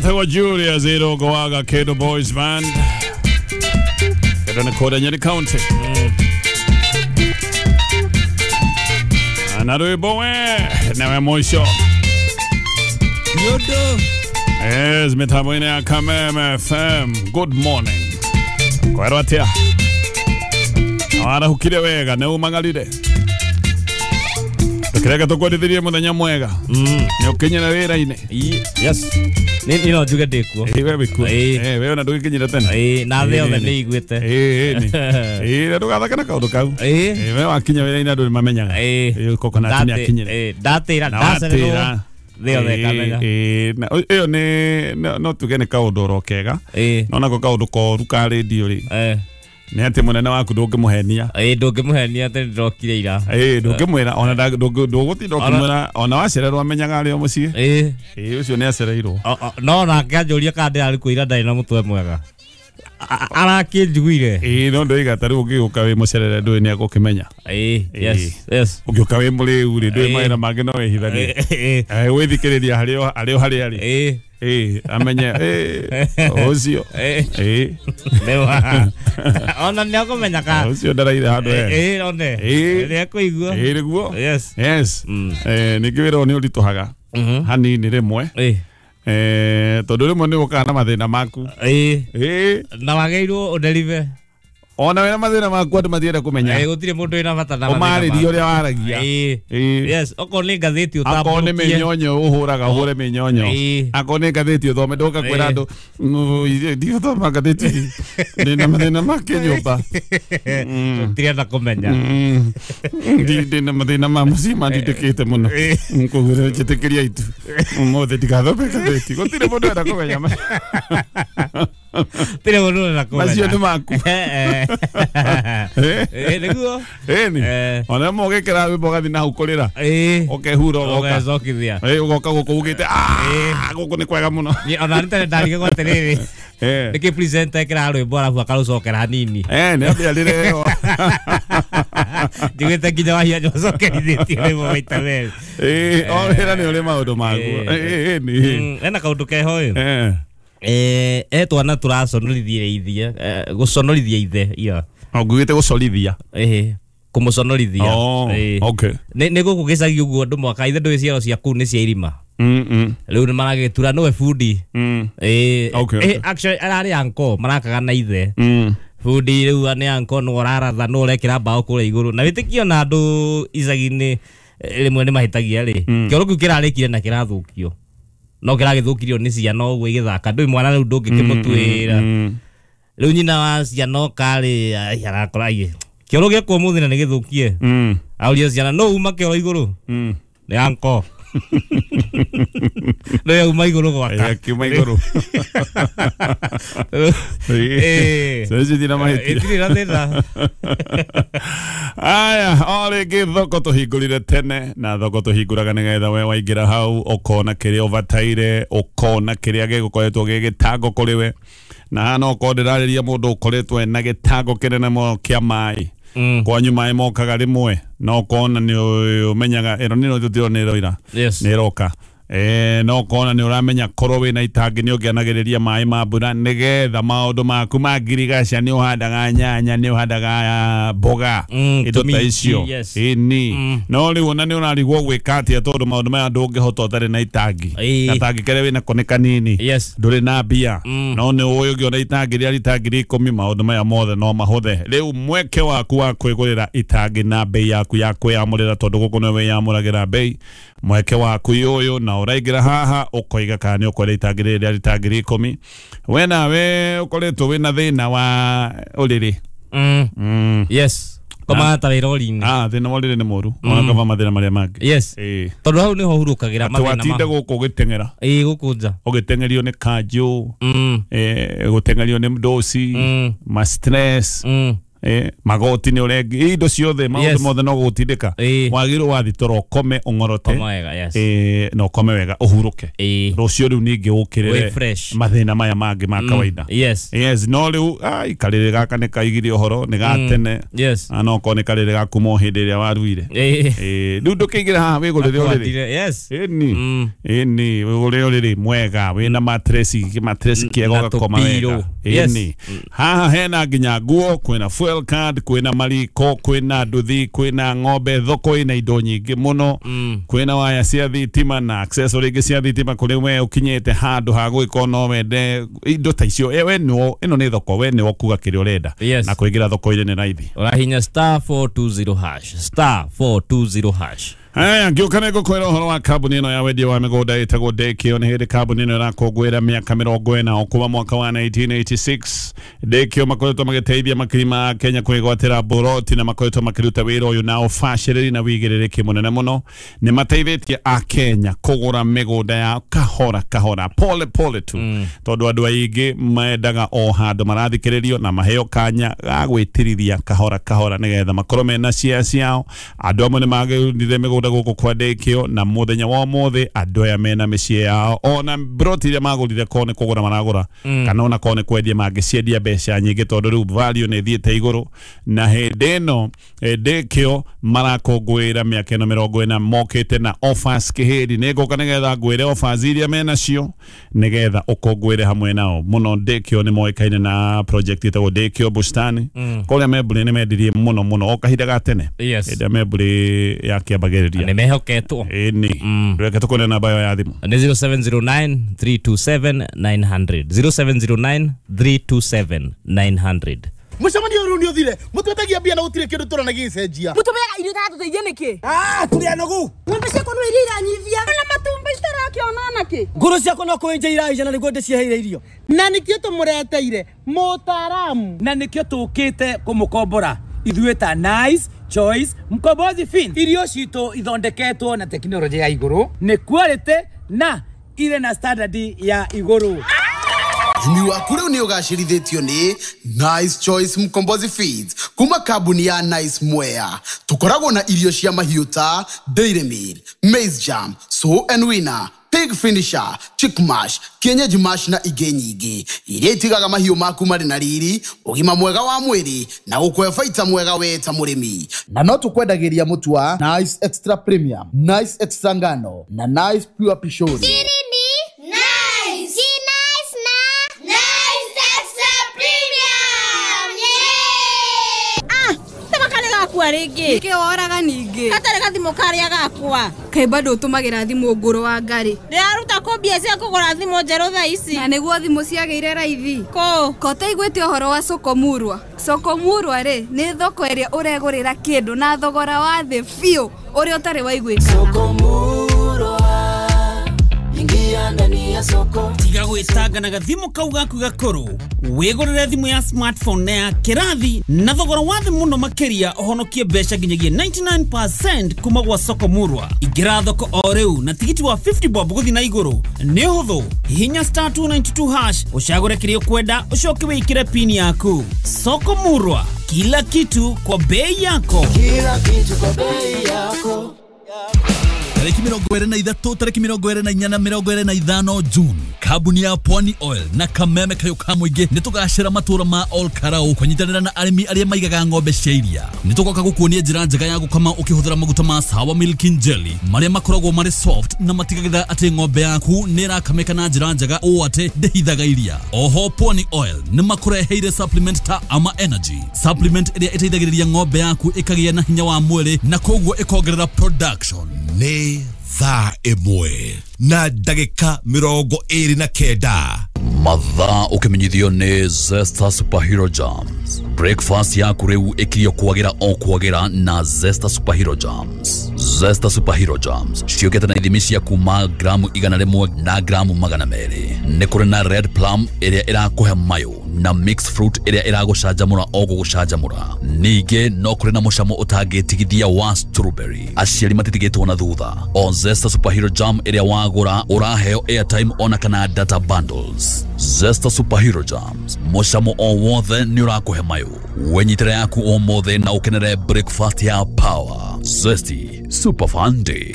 Etagwo Julius Irongo wa Gakedo Boys Band. Kedo nĩ kũrĩa Nyeri County. Na rwĩmbo we newe mũico. Yodo. Yes, mitambo-inĩ ya Kameme FM. Good morning. Kwerwo atĩa? Warahukire wega nĩ umang'arire. Ndũkĩreke tũkwendithirie mũthenya mwega. Nĩ ũkinyĩra wĩra-inĩ. Yes. Ni no njuge ndĩkuo. Ĩ we wĩkuo. Ĩ. Ĩ we ona ndũgĩkinyire tene. Ĩ, na thĩ yothe nĩ iguĩte. Ĩ nĩ. Ĩ na ndũgathake na kaũndũ kau. Ĩ. Ĩ we wakinya wĩra-inĩ andũ nĩ mamenyaga. Ĩ. Ĩ coconut nĩ akinyire. Ĩ, ndatĩra Na ndacererwo watĩra. thĩ yothe ĩkamenya. Ĩ, na ĩyo nĩ no tuge nĩ kaũndũ oro kega. Ĩ. No nako kaũndũ koru ka rĩndio rĩ Eh. nĩ atĩ mũnene waku ndũngĩmũhenia. Ĩ, ndũngĩmũhenia atĩ nĩndĩrokire ira. Ĩ ndũngĩmwĩra ona ndũgũtinda ũkĩmwĩra ona wacererwo amenyaga arĩ o mũciĩ. Ĩ. Ĩ ũcio nĩ acereirwo. No nake anjũria kana ndĩrarĩ kuo ira ndarĩ na mũtwe mwega. Arakĩnjiguire. Ĩ no ndoiga ta rĩu ũngĩũka wĩ mũcerere ndũĩ nĩ agũkĩmenya. Ĩ, yes, yes. Ũngĩũka wĩ mũrĩu rĩ ndũĩ Ĩ. mawĩra mangĩ no wĩhithanie. Ĩ, Eh, gwĩthikĩrĩria harĩ o harĩ o harĩa arĩ. ĩ, Ĩ amenye ĩ ũcio. ĩ. Ĩ Nĩwa. Ona nĩ akũmenya ka. ũcio ndaraire handũ hega. Ĩ, one. Ĩ. Nĩ ekũigua. Ĩ nĩguo. Yes. Yes. Mm. Eh, ningĩ wĩra ũyũ nĩ ũritũhaga Mhm. hanini rĩmwe. Ĩ. Eh, tondũ rĩmwe nĩ ũkaga na mathĩna maku. Ĩ. Ĩ Na wagĩrĩirwo ũnderive. ona wĩna mathĩna maku andũ matienda kũmenya. Ĩ, gũtirĩ mũndũ wĩna bata na mathĩna Ũmarĩrie maku. ũrĩa waragia. Ĩ. Ĩ. Yes, okorwo nĩ ngathĩti Akorwo nĩ ũtambũrũkie. mĩnyonyo ũhũraga ũhũre mĩnyonyo. Ĩ. Akorwo nĩ ngathĩti ũthome ndũka kwĩra Ĩ. andũ ndigũthoma ngathĩti ndĩna mathĩna ma kĩnyũmba. Tũtirenda kũmenya. Ndĩna mathĩna ma mũciĩ mandindĩkĩte mũno. Ĩ. Koguo njĩtĩkĩria itu ũmũthĩ ndigathome ngathĩti. Gũtirĩ mũndũ enda kũmenya. Gũtirĩ mũndũ ũrenda kũmenya. Macio nĩ maku. Eh, Eh. eh. Ĩ, nĩguo. Ĩni. Eh. Ona rĩmwe ũgĩkĩra rwĩmbo ũgathiĩ na hau kũrĩra. Ĩ. Ũkehura ũgoka. Ũgecokithia. Ĩ ũgoka gũkũ ugĩte gũkũ nĩ kwega mũno. Niĩ ona nĩ tene ndarigagwo atĩrĩrĩ. Eh. Nĩkĩ presenter ekĩraga rwĩmbo arabu akarũcokera hanini. Eh, nĩ ambia rĩrĩ Njiguĩte nginya Wahianya ũcokerithĩtie rwĩmbo maita merĩ. Ĩ, o wĩra nĩ ũrĩ maũndũ maguo. Eh. Ĩ, ĩ, nĩ. Hena kaũndũ keho ĩ. Eh. Eh, twana tũraconorithia ithe, gũconorithia ithe ira. Ngugĩte gũcorithia. Ĩhĩ, kũmũconorithia. Oh, Ĩ. okay. Nĩ gũkũ gĩcagi ũguo andũ mwaka ithe ndũĩ ciaro cia kũu nĩ cia irima. Mm, mm. Rĩu nĩ maragĩtura nĩwe bundi. Mm. Ĩ, Okay, ĩ, okay. actually ararĩ anko marakaga na ithe. Mm. Bundi rĩu nĩ anko nĩ ũraratha nĩ ũrekĩra mbaũ kũrĩa igũrũ. Na wĩtĩkio na andũ icagi-inĩ rĩmwe nĩ mahĩtagia rĩ. Kĩoro kĩu kĩrarĩkire na kĩrathũkio. No kĩragĩthũkirio nĩ ciana ũguo igĩthaka. Ndũĩ mwana rĩu ndũngĩkĩmũtuĩra. Mm. Rĩu nyina wa ciana oka rĩ, ai, arakora ai, kĩoro gĩakwa ũmũthĩ na nĩ gĩthũkie. Mm. Auria ciana no uma kĩoro igũrũ. Mm. Nĩ anko. Nĩ auma igũrũ gwaka. Ĩ, akiuma igũrũ. Ĩ. Ciana icio itirĩ na mahĩtia. Itirĩ na thĩna. Aya, o rĩngĩ thoko tũhingũrire tene na thoko tũhingũraga nĩgetha we waingĩra hau ũkona kĩrĩa ũbataire ũkona kĩrĩa gĩgũkoretwo gĩ gĩtango kũrĩ we na haha no ũkorwo ndĩrarĩria mũndũ ũkoretwo ena gĩtango kĩnene mũno kĩa maĩ. Mm. Kwanyu maĩ mokaga rĩmwe na ũkona nĩ ũmenyaga ĩno nĩ tũtirona nĩ ĩroira. Yes. Nĩ ĩroka. No ũkona nĩ ũramenya korwo wĩna itangi nĩ ũngĩanagĩrĩria maĩ ma mbura nĩgetha maũndũ maku ma ngirigaca nĩ ũhandaga nyanya nĩ ũhandaga mboga Mm, indo ta tũminji, icio. yes. Ĩni. Mm. No rĩu ona nĩ ũrarigwo gwĩka atĩa tondũ maũndũ maya ndũngĩhota ũtarĩ na itangi. Ĩĩ. Gatangi karĩa wĩnako nĩ kanini. Yes. Ndũrĩ na mbia. Mm. No nĩ ũĩ ũngĩona itangi rĩa rita 10,000 maũndũ maya mothe no mahũthe. Rĩu mweke waku wa kwĩgũrĩra itangi na bei yaku ya kwĩyamũrĩra tondũ gũkũ nĩwe wĩyamũragĩra bei. Mweke waku ũyũ na ũraingĩra haha ũkoiga kana nĩ ũkwenda itangi rĩrĩ rĩa rita 10,000. We nawe ũkoretwo wĩna thĩna wa ũrĩrĩ. Mm. Mm. Yes. Komaga ta wĩ rori-inĩ. Ah, thĩna wa ũrĩrĩ nĩ mũru. Ona kaba mathĩna marĩa mangĩ. Yes. Ĩ. Tondũ hau nĩho hurũkagĩra Atĩ mathĩna watinda ma. gũkũ ũgĩteng'era. Ĩ, gũkũ nja. Ũgĩteng'erio nĩ kanjũ. Mm. Gũteng'erio nĩ ndoci. Mm. Ma stress. Mm. Magoti nĩ ũrengi indo ciothe maũndũ mothe no gũgũtindĩka. Wagĩrĩirwo wathi toro ũkome ũng'orote. Na ũkome wega ũhurũke. Rũciũ rĩu ningĩ ũkĩrĩre mathĩna maya mangĩ ma kawaida. Yes, no rĩu ai karĩrĩ gaka nĩ kaigire ũhoro nĩ ga tene. No korwo nĩ karĩrĩ ga kuma o hĩndĩ ĩrĩa waruire. Rĩu ndũkĩingĩra haha wĩgũrĩre ũrĩrĩ. Ĩni. Ĩni wĩgũrĩre ũrĩrĩ mwega wĩna matresi kĩega ũgakoma wega. Ĩni. Haha hena nginya nguo, kwĩna fuel card, kwĩna mariko, kwĩna nduthi, kwĩna ng'ombe, thoko ĩna indo nyingĩ mũno. Kwĩna waya cia thitima na accessory ingĩ cia thitima kũrĩ we ũkinyĩte handũ ha gwĩka no wende indo ta icio. We nĩo ĩno nĩ thoko, we nĩo kuga kĩrĩa ũrenda. Na kũingĩra thoko-inĩ nĩ raithi. Ũrahinya *420#, *420#. Haya, ngĩũka nĩ ngũkwĩra ũhoro wa kambuni ĩno ya wendia wa mĩgũnda ĩtagwo Dekio. Nĩ hĩndĩ kambuni ĩno ĩrakũngũĩra mĩaka 40 o kuma mwaka wa 1986. Dekio makoretwo magĩteithia makiri ma Kenya kwĩgwatĩra mburoti na makoretwo makĩruta wĩra ũyũ na ũbacĩrĩri na wĩigĩrĩrĩki mũnene mũno. Nĩ mateithĩtie Akenya kũgũra mĩgũnda ya kahora kahora, pole pole tu, tondũ andũ aingĩ mendaga o handũ marathikĩrĩrio na maheo kanya ga gwĩtirithia kahora kahora nĩgetha makorwo mena share ciao. Andũ amwe nĩ magĩrire mĩgũnda gũkũ kwa Dekio na mũthenya wa ũmũthĩ andũ aya mena mĩciĩ yao ona mburoti iria magũrire korwo nĩ kũgũra maragũra kana ona korwo nĩ kwendia mangĩciendia mbeca nyingĩ tondũ rĩu value nĩ ĩthiĩte igũrũ. Na hĩndĩ ĩno Dekio marakũngũĩra mĩaka ĩno 40 mokĩte na offers kĩhĩri. Nĩ ngũka nĩgetha ngwĩre offers iria menacio nĩgetha ũkũngũĩre hamwe nao mũno. Dekio nĩ moĩkaine na project ĩtagwo Dekio Bustani. Kũrĩa Membũrĩ nĩ mendirie mũno mũno o kahinda ga tene. Hĩndĩ ĩrĩa Membũrĩ yakĩambagĩrĩria nĩ mehoketwo. Ĩni. Reke tũkone namba ĩyo ya thimũ. Nĩ 0709 327 900. 0709 327 900. Mũcemanio ũyũ nĩ ũthire. Mũtwetagia mbia na gũtirĩ kĩndũ tũrona gĩgĩcenjia. Mũtũmeaga irio itatũteithia nĩkĩ? Tũrĩ anogu. Ng'ombe ciakwa no iria iranyivia. Na matumbĩ itarakĩona nakĩ? Ngũrũ ciakwa no kũenja iraija na nĩguo ndĩciheire irio. Na nĩkĩo tũmũreteire mũtaaramu. Na nĩkĩo tũkĩte kũmũkombora. Ithuĩ ta Nice Choice Mkombozi Fin. Irio citũ ithondeketwo na tekinoronjĩ ya igũrũ, nĩ quality na irĩ na standard ya igũrũ. Ũrĩmi waku rĩu nĩ ũgacĩrithĩtio nĩ Nice Choice Mkombozi Feeds kuma kambuni ya Nice Mwea. Tũkoragwo na irio cia mahiũ ta Dairy Meal, Maize Jam, Sow and Winner, Pig Finisher, Chick Mash, Kienyeji Mash na ingĩ nyingĩ iria itigaga mahiũ maku marĩ na riri, ũgima mwega wa mwĩrĩ na gũkũhe baita mwega we ta mũrĩmi. Na no tũkwendagĩria mũtu wa Nice Extra Premium, Nice Extra Ngano na Nice Pure Pishori. Rĩngĩ. Nĩkĩ woraga ningĩ? Gatarĩ gathimũ karĩa gakwa. Kaĩ bado ũtũmagĩra thimũ ngũrũ wa ngarĩ? Ndĩraruta kũ mbia cia kũgũra thimũ njerũ thaa ici? Na nĩguo thimũ ciagĩire raithi. Kũ? Ko ũtaiguĩte ũhoro wa Sokomurwa? Sokomurwa rĩ, nĩ thoko ĩrĩa ũregũrĩra kĩndũ na thogora wa thĩ biũ ũrĩa ũtarĩ waiguĩkana. Sokomurwa, ingia ndani ya soko. Tiga gwĩtanga na gathimũ kau gaku gakũrũ. Wĩgũrĩre thimũ ya smartphone na ya kĩrathi na thogora wa thĩ mũno makĩria ũhonokie mbeca nginyagia 99% kuma gwa Sokomurwa. Ingĩra thoko o rĩu na tigiti wa 50 bob gũthiĩ na igũrũ. Nĩ ũhũthũ. Hihinya *292# ũcagũre kĩrĩa ũkwenda ũcoke wĩkĩre pin yaku. Sokomurwa, kila kitu kwa bei yako. Kila kitu kwa bei yako. Tariki 23, tariki 24 na 25 June, kambuni ya Pwani Oil na Kameme Kayo ka mũingĩ nĩ tũgacĩra matũra ma Ol Karau kũnyitanĩra na arĩmi arĩa maigaga ng'ombe cia iria. Nĩ tũgoka gũkuonia njĩra njega ya gũkama ũkĩhũthĩra maguta ma Sawa Milking Jelly marĩa makoragwo marĩ soft na matigagĩrĩra atĩ ng'ombe yaku nĩ ĩrakamĩka na njĩra njega ũũ atĩ ndĩhithaga iria. Oho Pwani Oil nĩ makũreheire supplement ta Ama Energy, supplement ĩrĩa ĩteithagĩrĩria ng'ombe yaku ĩkagĩa na hinya wa mwĩrĩ na koguo ĩkongerera production. Nĩ thaa 1 na ndagĩka 29. Mathaa ũkĩmenyithio nĩ Zesta Superhero Jams. Breakfast yaku rĩu ĩkirio kwagĩra o kwagĩra na Zesta Superhero Jams. Zesta Superhero Jams ciũkĩte na ithimi cia kuma gramu 100 na gramu 200. Nĩ kũrĩ na red plum ĩrĩa ĩrakũhe mayũ na mixed fruit ĩrĩa ĩragũcanjamũra o gũgũcanjamũra. Ningĩ no kũrĩ na mũcamo ũtangĩtigithia wa strawberry. Aciari matitigĩtwo na thutha. O Zesta Superhero Jam ĩrĩa wagũra ũraheo airtime ona kana data bundles. Zesta Superhero Jams, mũcamo o wothe nĩ ũrakũhe mayũ. Wenyitĩre yaku ũmũthĩ na ũkenere breakfast ya power. Zesty Super Fun Day.